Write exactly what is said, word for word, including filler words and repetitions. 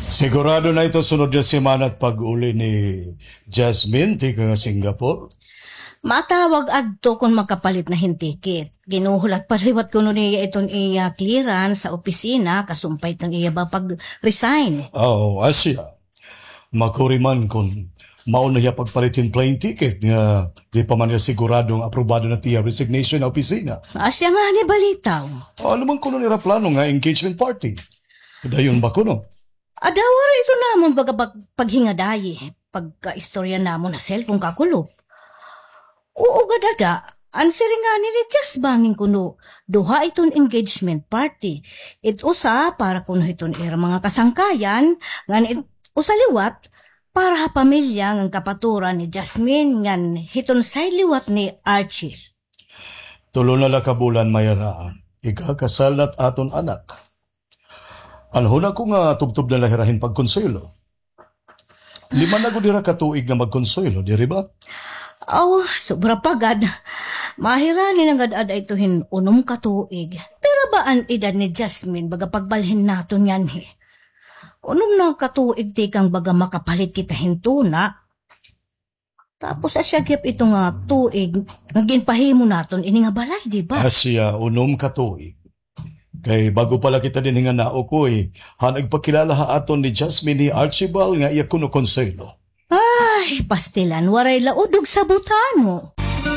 Sigurado na ito sunod nga semana it pag-uli ni Jasmine tikang Singapore. Matawag adto kon makapalit na hin ticket. Ginuhulat pa liwat kuno niya iton iya clearance sa opisina, kasumpay iton iya ba pag-resign. Oo, asya. Makuri man kon mao na hiya pagpalit hin plane ticket nga di pa man niya sigurado nga aprobado na it iya resignation ha opisina. Asya ngani balitaw. Ano man kuno it ira plano nga engagement party? Dayon ba kuno? Ada, waray ito namon baga pag-, paghingadayi, pagkaistorya namon ha cellphone kakulop. Oo, gad ada, an siring ngani ni Jess bangin kuno, duha iton engagement party. It usa para kuno hiton ira mga kasangkayan, ngan it usa liwat para ha pamilya ngan kapaturan ni Jasmine ngan hiton side liwat ni Archie. Tulo na la ka bulan, Myra, ikakasal na it aton anak. An huna ko nga tubtob na la hira hin pagkonsuwelo. Lima na gud hira ka tuig nga magkonsuwelo, diri ba? Aw, sobra pa gad. Mahirani na gad ada ito hin unom ka tuig. Pira ba an edad ni Jasmine baga pagbalhin naton nganhi? Unom na ka tuig tikang baga makapalit kita hin tuna. Tapos asya gihap ito nga tuig nga ginpahimo naton ini nga balay, di ba? Asya, unom ka tuig. Kay bag-o pa la kita dinhi nga naokoy, han nagpakilala ha aton ni Jasmine hi Archibald nga iya kuno Consuelo. Ay, pastilan, waray la udog sa butano.